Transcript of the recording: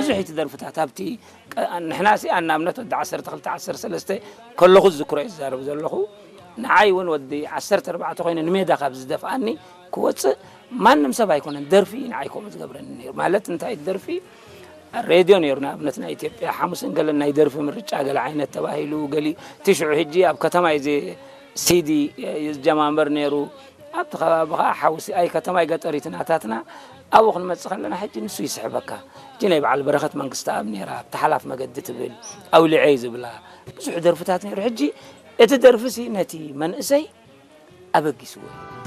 ብዙሕ እቲ ደርፍታት ኣብቲ ቀ- ንሕና ሲ ኣናብነት ወዲ ዓሰርተ ክልተ ዓሰርተ ሰለስተ ከለኹ ዝዝክሮ እየ ዝዛረብ ዘለኹ። ንዓይ እውን ወዲ ዓሰርተ ኣርባዕተ ኮይኑ ንሜዳ ካብ ዝደፍኣኒ ክወፅእ ማንም ሰብ ኣይኮነን፣ ደርፊ እዩ ንዓይ ከምኡ ዝገብረኒ ነይሩ። ማለት እንታይ ደርፊ ሬድዮ ነይሩ፣ ንኣብነት ናይ ኢትዮጵያ ሓሙስን ገለን ናይ ደርፊ ምርጫ ገለ ዓይነት ተባሂሉ ገሊ ትሽዑ ሕጂ ኣብ ከተማ እዩ ዘ- ሲዲ ዝጀማመር ነይሩ። ኣብቲ ከባቢ ከዓ ሓውሲ ኣይ ከተማይ ገጠሪት ናታትና ኣብኡ ክንመፅእ ከለና ሕጂ ንሱ ይስሕበካ። ሕጂ ናይ በዓል በረኸት መንግስቲ ኣብ ነይራ ተሓላፍ መገዲ ትብል ኣውሊዐይ ዝብላ ብዙሕ ደርፍታት ነይሩ። ሕጂ እቲ ደርፊ ሲ ነቲ መንእሰይ ኣበጊስዎ እዩ።